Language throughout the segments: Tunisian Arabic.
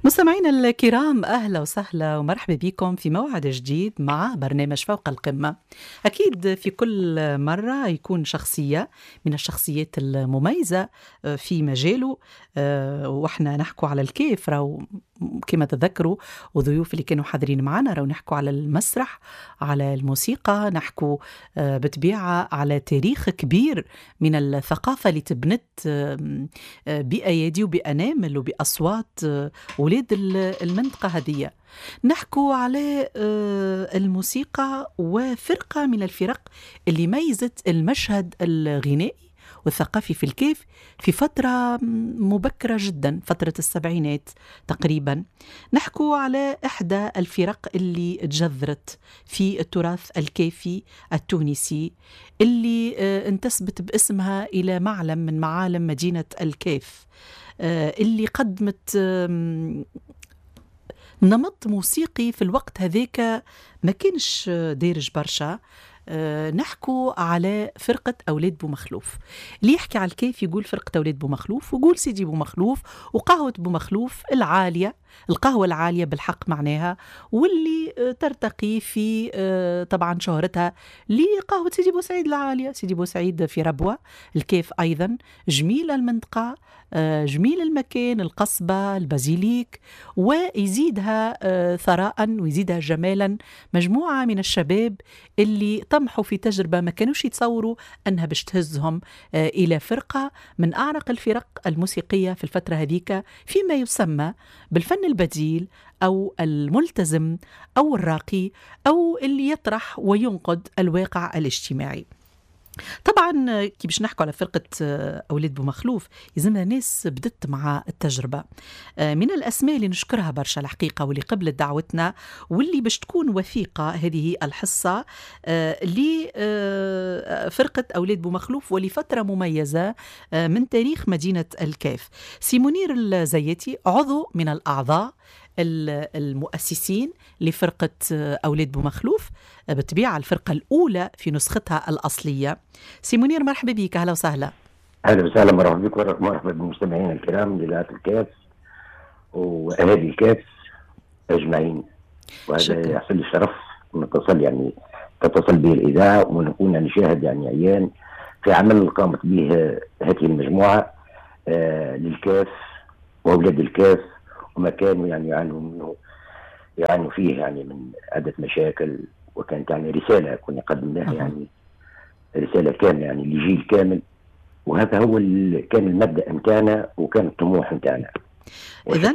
مستمعينا الكرام، أهلا وسهلا ومرحبا بكم في موعد جديد مع برنامج فوق القمة. أكيد في كل مرة يكون شخصية من الشخصيات المميزة في مجاله، وإحنا نحكوا على الكيف راهو كما تذكروا، وضيوف اللي كانوا حاضرين معنا راهو نحكوا على المسرح، على الموسيقى، نحكوا بطبيعة على تاريخ كبير من الثقافة اللي تبنت بأيادي وبأنامل وبأصوات ولاد المنطقة هذه. نحكوا على الموسيقى وفرقة من الفرق اللي ميزت المشهد الغنائي والثقافي في الكيف في فترة مبكرة جدا، فترة السبعينات تقريبا. نحكوا على إحدى الفرق اللي تجذرت في التراث الكافي التونسي، اللي انتسبت باسمها إلى معلم من معالم مدينة الكاف، اللي قدمت نمط موسيقي في الوقت هذاك ما كانش دارج برشا. نحكوا على فرقة أولاد بومخلوف. اللي يحكي على الكيف يقول فرقة أولاد بومخلوف، ويقول سيدي بومخلوف وقهوة بومخلوف العالية، القهوة العالية بالحق معناها، واللي ترتقي في طبعا شهرتها لقهوة سيدي بوسعيد العالية. سيدي بوسعيد في ربوة الكيف أيضا، جميلة المنطقة، جميل المكان، القصبة، البازيليك، ويزيدها ثراء ويزيدها جمالا مجموعة من الشباب اللي طمحوا في تجربة ما كانوش يتصوروا أنها باش تهزهم إلى فرقة من أعرق الفرق الموسيقية في الفترة هذيك، فيما يسمى بالفن البديل أو الملتزم أو الراقي أو اللي يطرح وينقد الواقع الاجتماعي. طبعا كي باش نحكوا على فرقة أولاد بومخلوف يلزمنا ناس بدت مع التجربة. من الأسماء اللي نشكرها برشا الحقيقة واللي قبلت دعوتنا واللي باش تكون وثيقة هذه الحصة لفرقة أولاد بومخلوف ولفترة مميزة من تاريخ مدينة الكاف، سي منير الزياتي، عضو من الأعضاء المؤسسين لفرقة أولاد بومخلوف، بالطبيعة الفرقة الأولى في نسختها الأصلية. سي منير مرحبا بك، أهلا وسهلا. أهلا وسهلا، مرحبا بك ومرحبا بالمستمعين الكرام لإذاعة الكاف وأهالي الكاف أجمعين. وهذا يحصل لي الشرف نتصل، يعني تتصل به الإذاعة ونكون نشاهد يعني عيان في عمل قامت به هذه المجموعة للكاف وأولاد الكاف، وما كانوا يعني يعانوا منه، يعانوا فيه يعني من عدة مشاكل، وكانت يعني رسالة كنا قدمناها يعني رسالة كاملة يعني لجيل كامل، وهذا هو كان المبدأ نتاعنا وكان الطموح نتاعنا. إذا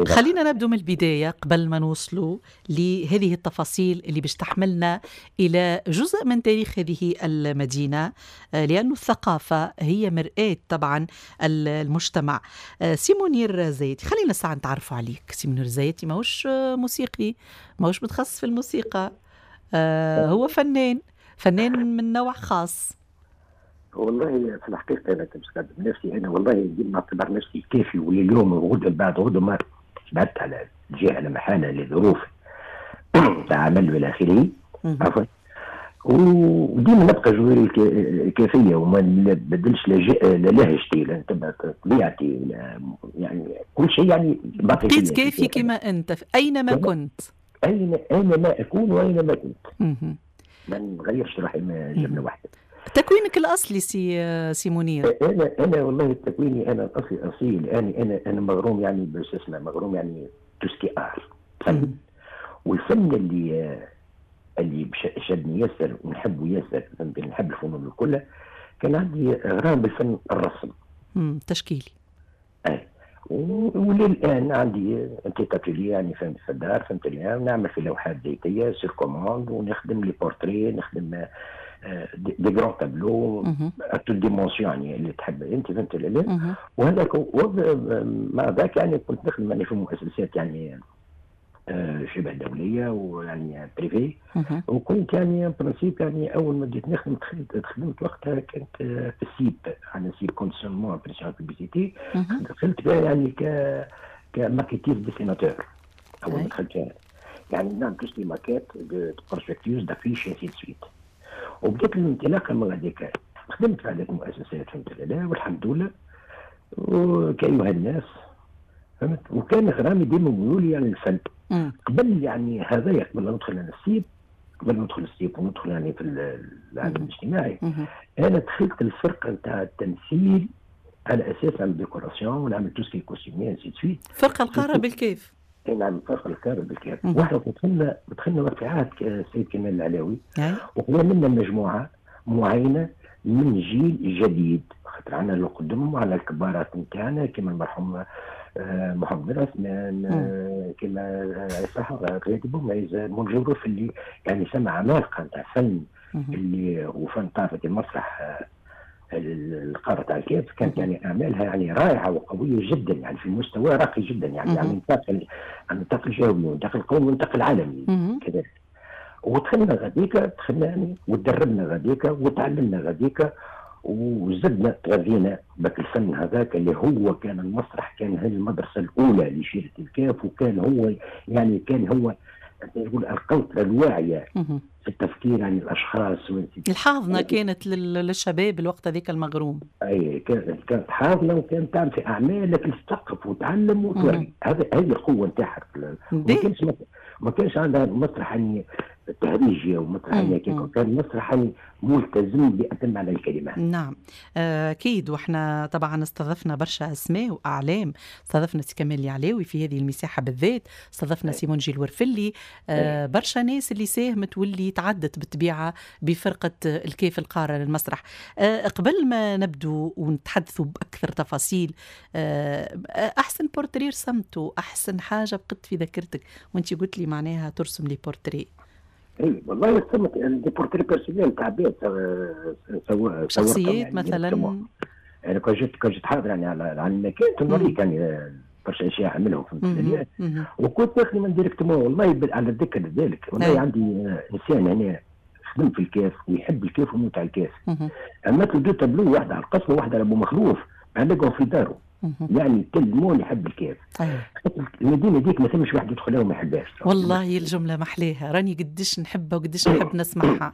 خلينا نبدو من البداية قبل ما نوصلوا لهذه التفاصيل اللي باش تحملنا إلى جزء من تاريخ هذه المدينة، لأن الثقافة هي مرآة طبعا المجتمع. سي منير زيتي، خلينا ساعة نتعرفوا عليك. سي منير زيتي ماهوش موسيقي، ماهوش متخصص في الموسيقى، هو فنان، فنان من نوع خاص. والله في الحقيقة أنا تمسكت بنفسي، أنا والله ديما نعتبر نفسي كافي، ولليوم وغدا بعد غدا ما بعدت على الجهة لا محالة لظروف عمل والى آخره، عفوا، وديما نبقى جواري الكافية وما نبدلش لا لهجتي لا نتبع طبيعتي لا يعني كل شيء، يعني بقيت كافي كما أنت أينما كنت، أينما أكون وأينما كنت، ما نغيرش روحي جملة واحدة. تكوينك الأصلي سي منير؟ أنا والله تكويني أنا الأصلي أصيل، أنا مغروم يعني باش اسمه مغروم يعني tout ce qui est art، فن، والفن اللي شدني ياسر ونحبه ياسر، نحب الفنون الكل. كان عندي غرام بالفن الرسم تشكيلي. وللآن عندي petit atelier يعني فهمت في الدار، فهمت، نعمل في لوحات زيتية sur commande، ونخدم les portraits، نخدم des grands tableaux à toutes dimensions يعني اللي تحب انت، فهمت لا. وهذاك مع ذاك يعني كنت نخدم يعني في مؤسسات يعني شبه دولية ويعني privé، وكنت يعني principe يعني اول ما بديت نخدم خدمت وقتها كنت في ال CIP، يعني CIP conditionnement impression publicité، دخلت فيها يعني ك maquettiste dessinateur اول ما دخلت فيها، يعني نعمل tout ce qui est maquettes de prospectus d'affiches ainsi de suite. وبدات الانطلاقة من هذيك، خدمت في عده مؤسسات فهمت لا، والحمد لله. وكاينوا هاد الناس فهمت؟ وكان غرامي ديما ميولي يعني الفن. قبل يعني هذايا، قبل ما ندخل انا السيب، قبل ما ندخل السيب وندخل يعني في العالم الاجتماعي، انا دخلت الفرقة نتاع التمثيل على اساس نعمل décoration ونعمل tout ce qui est costumier ainsi de suite. فرقه القارة بالكاف. نعم، فرقه القارة بالكاف. واحنا دخلنا في عهد السيد كمال العلاوي، وخذا منا مجموعة معينة من جيل جديد، خاطر عندنا اللي قدم وعندنا الكبارات نتاعنا كما المرحوم محمد عثمان، كما صح غادي بوميز، منجي اللي يعني سمع عمالقة نتاع فن اللي وفن طافة المسرح القارة تاع الكاف، كانت يعني اعمالها يعني رائعة وقويه جدا، يعني في مستوى راقي جدا، يعني على النطاق الجهوي والنطاق القومي والنطاق العالمي كذلك. ودخلنا غاديكا، دخلنا يعني وتدربنا غاديكا وتعلمنا غاديكا وزدنا تغذينا بك الفن هذاك اللي هو كان المسرح، كان هي المدرسة الاولى لشيره الكاف، وكان هو يعني كان هو نقول القوطره الواعية في التفكير عن الاشخاص. الحاضنة كانت للشباب الوقت هذيك المغروم. اي، كانت حاضنة وكانت تعمل في اعمال لكن تثقف وتعلم وتوري، هذه القوة نتاعها. ما كانش عندها مسرح يعني تهريجي ومسرح يعني، كان مسرح ملتزم بأتم معنى الكلمة. نعم أكيد. وإحنا طبعا استضفنا برشا أسماء وأعلام، استضفنا سي كمال العلاوي في هذه المساحة بالذات، استضفنا سي منجي الورفلي، برشا ناس اللي ساهمت واللي تعدت بالطبيعة بفرقة الكاف القارة للمسرح. قبل ما نبدو ونتحدثوا بأكثر تفاصيل، أحسن بورتري رسمته، أحسن حاجة بقت في ذاكرتك وأنت قلت لي معناها ترسم les portraits. اي والله رسمت des portraits personnels تاع عباد. شخصيات يعني مثلا. يعني كان جيت حاضر يعني على المكان نوريك يعني برشا اشياء عملهم، فهمت؟ وكنت نخدم directement. والله على ذكر ذلك، والله عندي انسان هنا خدم في الكاف ويحب الكاف ويموت على الكاف، عملت له deux tableaux، واحدة على القصبة وواحدة على ابو مخلوف، علقهم في داره. يعني tellement يحب الكاف. المدينة ديك ما ثمش واحد يدخلها وما يحبهاش. والله الجملة محليها، راني قديش نحبها وقديش نحب نسمعها.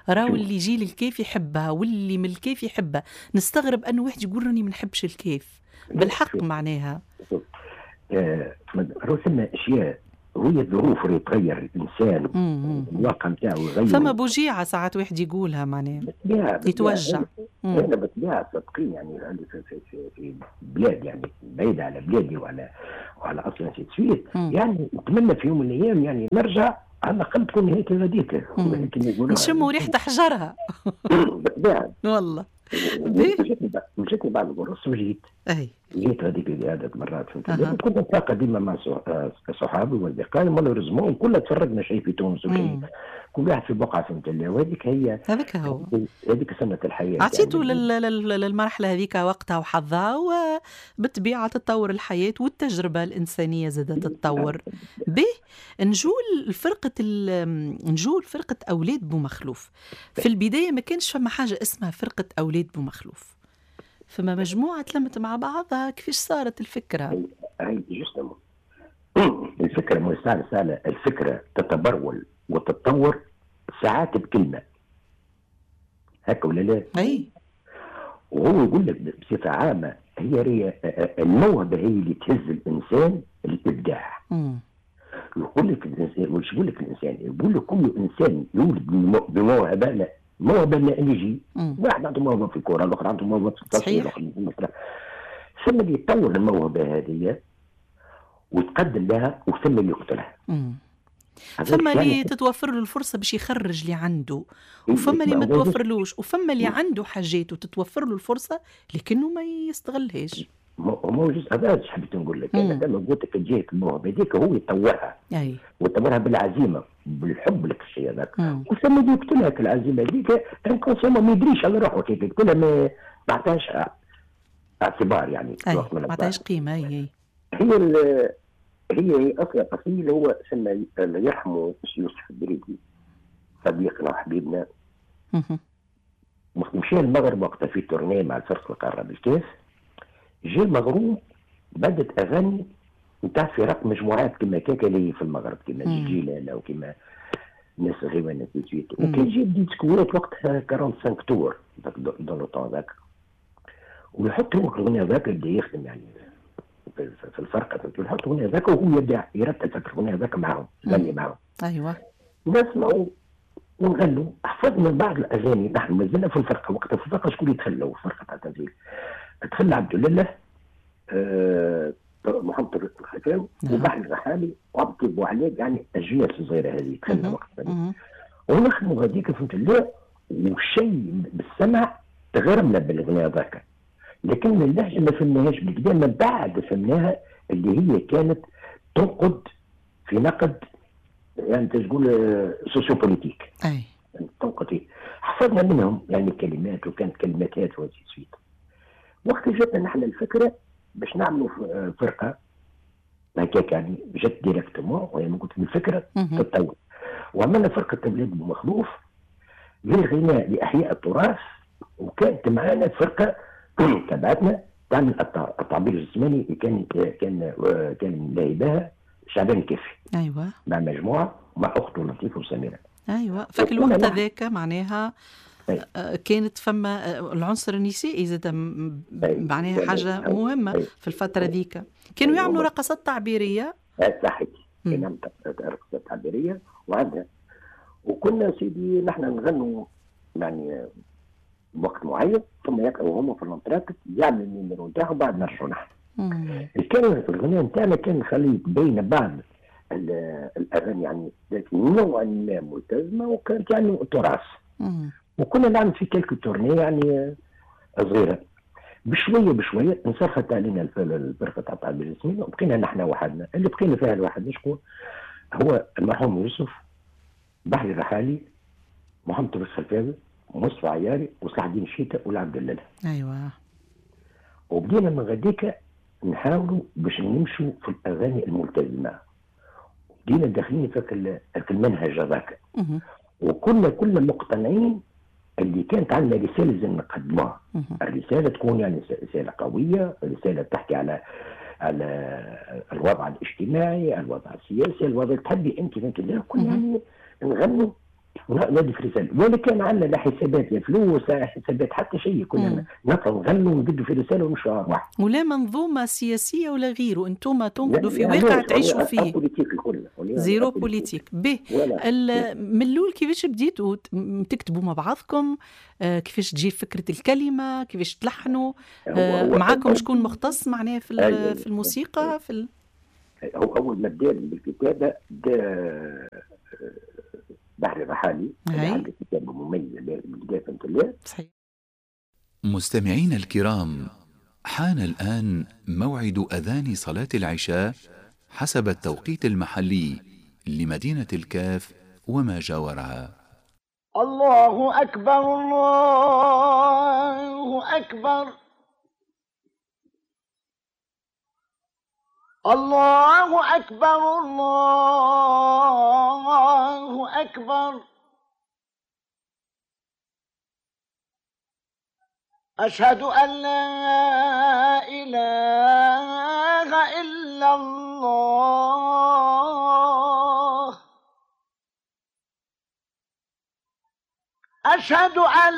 راهو اللي يجي للكاف يحبها واللي من الكاف يحبها. نستغرب انه واحد يقول راني ما نحبش الكاف بالحق معناها. راهو ثم اشياء وهي الظروف اللي تغير الانسان، الواقع نتاعو يغير. فما بوجيعه ساعات واحد يقولها معناها يتوجع. انا بالطبيعة صدقيني يعني عندي في بلاد يعني بعيدة على بلادي وعلى اصلا ainsi de suite، يعني نتمنى في يوم من الايام يعني نرجع على الاقل تكون نهايتي غاديك. نشموا ريحه حجرها. بالطبيعه. والله. مشيت بعد القرص وجيت. جيت هذيك عدة مرات، فهمت؟ كنت نتلاقى ديما مع صحابي واصدقائي، malheureusement كلنا تفرقنا، شيء في تونس وشيء كل واحد في بقعه، فهمت؟ وهذيك هي. هذاك هو. هذيك سنة الحياه. عطيتوا يعني للمرحلة هذيك وقتها وحظها، وبالطبيعه تتطور الحياة والتجربة الانسانية زادت تتطور. به نجول فرقه اولاد بومخلوف. في البداية ما كانش فما حاجة اسمها فرقه اولاد بومخلوف، فما مجموعة تلمت مع بعضها. كيفاش صارت الفكرة؟ هي justement الفكرة مو سهلة سهله، الفكرة تتبرول وتتطور ساعات بكلمه، هكا ولا لا؟ اي. وهو يقول لك بصفة عامة هي الموهبة هي اللي تهز الانسان الابداع. يقول لك الانسان، وش يقول لك الانسان؟ يقول لك كل انسان يولد بموهبه، لا موهبة لا يجي واحد عنده موهبة في الكره، الاخر عنده موهبة في التصوير، الاخر في المسرح، ثم اللي يطور الموهبة هذه ويتقدم لها وثم اللي يقتلها. ثم اللي تتوفر له الفرصة باش يخرج اللي عنده، وفما اللي ما توفرلوش، وفما اللي عنده حاجات وتتوفر له الفرصة لكنه ما يستغلهاش. مو جزء هذا ايش حبيت نقول لك، انا لما قلت لك تجيك الموهبة هذيك هو يطورها ويطورها بالعزيمه، بالحب لك الشيء هذاك، وثم اللي يقتلها العزيمة هذيك inconsciemment، ما يدريش على روحه كيف يقتلها، ما عطاش اعتبار يعني. ما عطاش قيمه، اي. هي اصلا اصيل هو سمى الله يرحمه يوسف الدريدي، صديقنا وحبيبنا، مشى المغرب وقتها في tournée مع الفرقة القارة بالكاف، جا المغروم بدت اغاني نتاع فرق مجموعات كما كاكا اللي في المغرب، كما جيجي وكما الناس غيوان ainsi de suite، وكان جاب ديسكوات وقتها 45 tours dans le temps ذاك، ويحط هو الاغنية ذاك، يبدا يخدم يعني في الفرقة، نحط الاغنية هذاك وهو يبدا يرتب في الاغنية هذاك معاهم، يغني معاهم. ايوه نسمعوا ونغنوا، حفظنا بعض الاغاني. نحن مازلنا في الفرقة وقتها، في الفرقة شكون يتخلوا في الفرقة تاع التمثيل؟ دخل عبد الله محمد طارق الخفاوي وبحر الرحالي وعبد بوعلي، يعني الاجيال الصغيرة هذه دخلنا وقتها ونخدموا هذيك فهمت الله. وشيء بالسمع تغرمنا بالاغنيه هذاك، لكن اللهجة ما فهمناهاش بالكدا. من بعد فهمناها اللي هي كانت تنقد في نقد، يعني تقول sociopolitique. اي تنقد. حفظنا منهم يعني كلمات، وكانت كلمات و ainsi de suite. وقت جاتنا نحن الفكرة باش نعملوا فرقه هكاك، يعني جات directement، وهي قلت الفكرة تتطور. وعملنا فرقه اولاد بومخلوف للغناء لاحياء التراث، وكانت معنا فرقه تبعتنا تعمل التعبير الجسماني، كان كان كان لاعبها شعبان الكافي. ايوه مع مجموعة مع اخته لطيفة وسميره. ايوه فك الوقت هذاك معناها كانت فما العنصر النسائي زاد معناها حاجة مهمة في الفترة ذيك. كانوا يعملوا رقصات تعبيريه. صحيح، كانوا رقصات تعبيريه وعندها. وكنا سيدي نحن نغنوا يعني وقت معين، ثم يقعوا هما في l'entracte يعملوا ال numéro نتاعهم، بعد نرجعوا نحن. كان الغناء نتاعنا كان خليط بين بعض الاغاني يعني نوعا ما ملتزمة، وكانت يعني تراث. وكنا نعمل في quelques tournées يعني صغيرة. بشوية بشوية انصرفت علينا الفرقة تاع التعبير الجسمي، وبقينا نحن وحدنا. اللي بقينا فيها لوحدنا شكون؟ هو المرحوم يوسف، بحري الرحالي، محمد طارق الخلفاوي، مصطفى عياري، وصلاح الدين الشيتا، والعبد الله. ايوه. وبدينا من غديك نحاولوا باش نمشوا في الاغاني الملتزمه. بدينا داخلين في المنهج هذاك. وكنا كلنا مقتنعين اللي كانت عندنا رسالة لازم نقدموها. الرسالة تكون يعني رسالة قوية، رسالة تحكي على الوضع الاجتماعي، الوضع السياسي، الوضع تحبي انت فهمت الله. كنا يعني نغنوا ونادي في رسالة، ولا كان عندنا لا حسابات لا فلوس لا حسابات حتى شيء. كنا نطلعوا نغنوا ونقدوا في رسالة ونمشوا على واحد. ولا منظومة سياسية ولا غيره، انتم تنقدوا في واقع تعيشوا فيه. zéro politique. به من الاول كيفاش بديتوا تكتبوا مع بعضكم؟ كيفاش تجي فكرة الكلمة؟ كيفاش تلحنوا؟ معاكم شكون مختص معناها في في الموسيقى؟ في هو اول ما بدا بالكتابة بدا بحر الرحالي، عنده كتابة مميزة بالبداية فهمت الله. صحيح. مستمعينا الكرام، حان الآن موعد أذان صلاة العشاء حسب التوقيت المحلي لمدينة الكاف وما جاورها. الله أكبر، الله أكبر، الله أكبر، الله أكبر. أشهد أن لا إله إلا الله. أشهد أن